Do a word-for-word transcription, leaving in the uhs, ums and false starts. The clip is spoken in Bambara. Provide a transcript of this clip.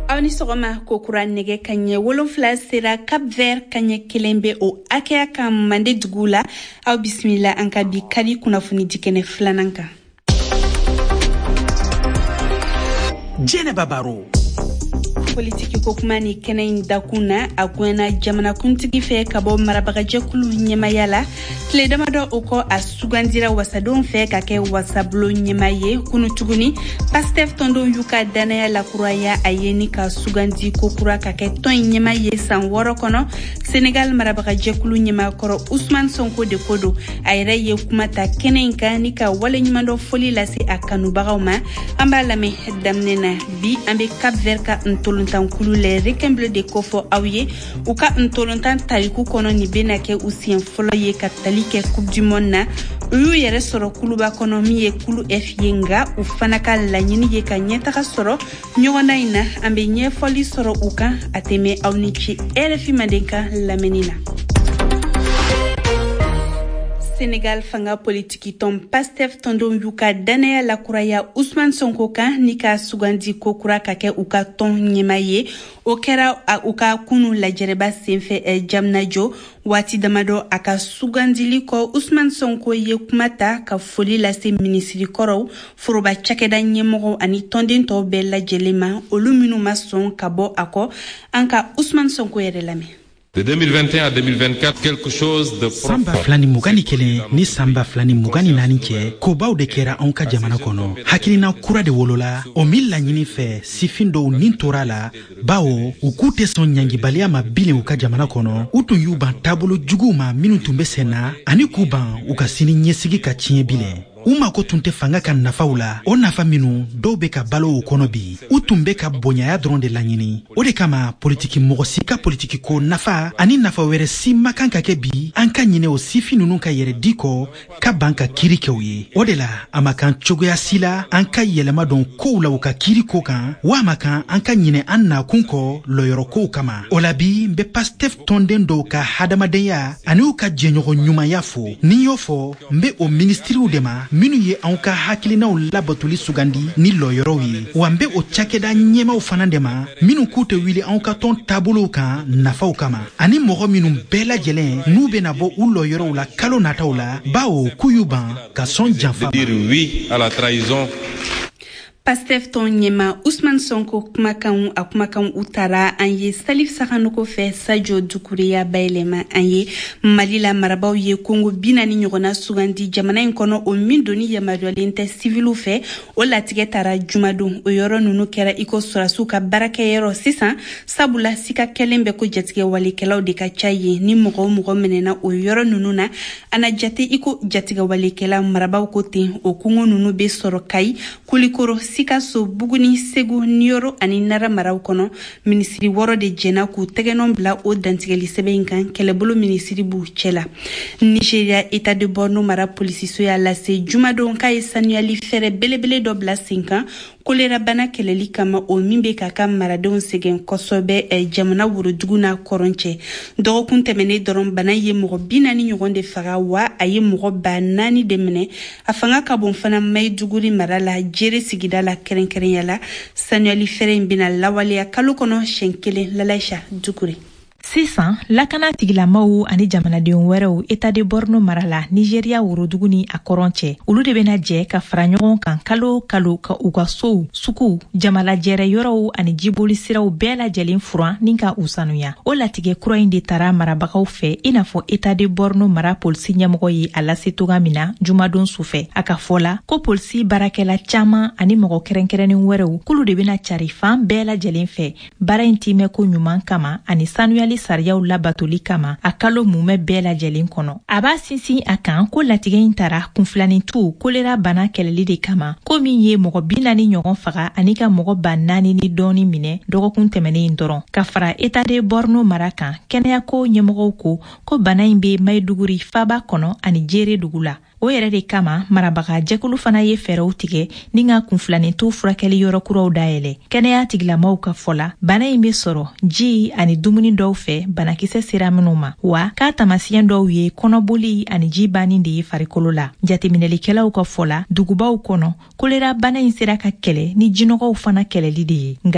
Aw ni sɔgɔma kokura. Nɛgɛ ka ɲɛ wolonfila sera Cap Vert, ka ɲɛ kelen bɛ o hakɛya kan Mande dugu la. Aw bisimila an ka bi kari kunnafoni dikɛnɛ filanan kan. Jɛnɛba Baro. Politiki ko kuma ni kɛnɛ in dakun na, a gwɛnna jamanakuntigi fɛ ka bɔ marabagajɛkulu ɲɛmaya la. Tile damadɔ o kɔ, a sugandira wasadenw fɛ ka kɛ wasabulon ɲɛma ye. Kunu tuguni, Pastef tɔndenw y'u ka dannaya lakuraya a ye ni ka sugandi kokura ka kɛ tɔn in ɲɛma ye san wɔɔrɔ kɔnɔ. Senegal marabagajɛkulu ɲɛmakɔrɔ Usman Sonko de ko don. A yɛrɛ ye kuma ta kɛnɛ in kan ni ka waleɲumandɔn foli lase a kanubagaw ma. An b'a lamɛn daminɛ na. Bi, an bɛ Cap Vert ka ntolontankulu Les Requins Bleus de kofɔ aw ye. U ka ntolontan tariku kɔnɔ, nin bɛna kɛ u siɲɛ fɔlɔ ye ka tali kɛ Coupe du Monde na. U y'u yɛrɛ sɔrɔ kuluba kɔnɔ min ye kulu F ye, nka u fana ka laɲini ye ka ɲɛtaga sɔrɔ ɲɔgɔndan in na. An bɛ ɲɛfɔli sɔrɔ u kan. A tɛmɛ aw ni ce R F I Mandenkan lamɛnni na. Senegal fanga politiki tɔn Pastef tɔndenw y'u ka dannaya lakuraya Usman Sonko kan ni ka sugandi kokura ka kɛ u ka tɔn ɲɛma ye. O kɛra u ka kunu lajɛrɛba senfɛ Diamniadio. Waati damadɔ a ka sugandili kɔ, Usman Sonko ye kuma ta ka foli lase minisiri kɔrɔw, foroba cakɛda ɲɛmɔgɔw ani tɔnden tɔw bɛɛ lajɛlen ma, olu minnu ma sɔn ka bɔ a kɔ. An ka Usman Sonko yɛrɛ lamɛn. De deux mille vingt et un à deux mille vingt-quatre, quelque chose de San ba fila ni mugan ni kelen ni san ba fila ni mugan ni naani cɛ, kobaw de kɛra anw ka jamana kɔnɔ. Hakilina kura de wolola o min laɲini fɛ, sifin dɔw nin tora la, bawo u k'u tɛ sɔn ɲangibaliya ma bilen u ka jamana kɔnɔ. U tun y'u ban taabolo juguw ma minw tun be sen na, ani k'u ban u ka sini ɲɛsigi ka tiɲɛ bilen. U mako tun tɛ fanga ka nafaw la, o nafa minnu dɔw be ka balo o kɔnɔ bi. U tun be ka bonyaya dɔrɔn de laɲini. O de kama, politiki mɔgɔ si ka politiki ko nafa ani nafa wɛrɛ si man kan ka kɛ bi an ka ɲinɛ o sifin nunu ka yɛrɛ di kɔ ka ban ka kiiri kɛ u ye. O de la, a ma kan cogoya si la an ka yɛlɛma don kow la u ka kiiri ko kan, wa a ma kan an ka ɲinɛ an nakun kɔ lɔyɔrɔ kow kama. O la bi, n be Pastef tɔnden dɔw ka hadamadenya ani u ka jɛɲɔgɔn ɲumanya fo. Ni y'o fɔ, n be o minisiriw de ma minnu ye anw ka hakilinaw labatoli sugandi ni lɔyɔrɔw ye, wa n be o cakɛda ɲɛmaw fana de ma minnu k'u tɛ wuli anw ka tɔn taabolow kan nafaw kama, ani mɔgɔ minnu bɛɛ lajɛlen n'u bena bɔ u lɔyɔrɔw la kalo nataw la, bawo k'u y'u ban ka sɔn janfa. De dire oui à la trahison. Pastef tɔn ɲɛma Usman Sonko kumakanw, a kumakanw u tara an ye Salif Sakanogo fɛ, Sajo Dukureya bayɛlɛma an ye. Mali la, marabaw ye kongo bi naani ɲɔgɔnna sugandi jamana in kɔnɔ, o min doni yamaruyalen tɛ siviliw fɛ. O latigɛ tara jumadon. O yɔrɔ nunu kɛra i ko sɔrasiw ka baarakɛyɔrɔ sisan, sabula sika kɛlen bɛ ko jatigɛ walekɛlaw de ka ca yen. Ni mɔgɔ o mɔgɔ minɛna o yɔrɔ nunu na, a na jate i ko jatigɛ walekɛla, marabaw ko ten. O kungo nunu be sɔrɔ Kayi, Kulikoro, Sikaso, Buguni, Segu, Niyɔrɔ ani Nara maraw kɔnɔ. Minisiri wɔɔrɔ de jɛna k'u tɛgɛnɔ bila o dantigɛli sɛbɛn in kan. Kɛlɛbolo minisiri b'u cɛ la. Nigeria, État de Borno mara polisiso y'a lase jumadon k'a ye sanuyali fɛɛrɛ belebele dɔ bila sen kan kolera bana kɛlɛli kama, o min bɛ k'a ka maradenw sɛgɛn kosɛbɛ jamana worodugu n'a kɔrɔn cɛ. Dɔgɔkun tɛmɛnen dɔrɔn, bana ye mɔgɔ bi naani ɲɔgɔn de faga, wa a ye mɔgɔ ba naani de minɛ. A fanga ka bon fana Maiduguri mara la, Jere sigida la kɛrɛnkɛrɛnya la. Sanuyali fɛɛrɛ in bɛna lawaleya kalo kɔnɔ siɲɛ kelen. Lalaisa Dukure. Sisan, lakana tigilamaw ani jamanaden wɛrɛw État de Borno mara la, Nigeriya worodugu ni a kɔrɔn cɛ, olu de bena jɛ ka fara ɲɔgɔn kan kalo kalo ka u ka sow, suguw, jamalajɛrɛ yɔrɔw ani jiboli siraw bɛɛ lajɛlen furan ni ka u sanuya. O latigɛ kura in de tara marabagaw fɛ, i n'a fɔ État de Borno mara polisi ɲɛmɔgɔ ye a lase toga min na jumadon sufɛ. A ka fɔ la ko polisi baarakɛla caaman ani mɔgɔ kɛrɛnkɛrɛnnen wɛrɛw k'olu de bena cari fan bɛɛ lajɛlen fɛ baara in timɛko ɲuman kama ani sanuyali sariyaw labatoli kama a kalo mumɛ bɛɛ lajɛlen kɔnɔ. A b'a sinsin a kan ko latigɛ in tara kunfilanintu kolera bana kɛlɛli de kama, ko min ye mɔgɔ bi naani ɲɔgɔn faga ani ka mɔgɔ ba naani ni dɔɔni minɛ dɔgɔkun tɛmɛnen in dɔrɔn. Ka fara État de Borno mara kan, kɛnɛyako ɲɛmɔgɔw ko ko bana in be Maiduguri faba kɔnɔ ani Jere dugu la. O yɛrɛ de kama, marabaga jɛkulu fana ye fɛɛrɛw tigɛ ni ka kunfilanintu furakɛli yɔrɔ kuraw dayɛlɛ. Kɛnɛya tigilamaw ka fɔ la, bana in be sɔrɔ ji ani dumuni dɔw fɛ banakisɛ sera minw ma, wa k'a tamasiyɛn dɔw ye kɔnɔboli ani ji banni de ye farikolo la. Jateminɛlikɛlaw ka fɔ la, dugubaw kɔnɔ, kolera bana in sera ka kɛlɛ ni jinɔgɔw fana kɛlɛli de ye.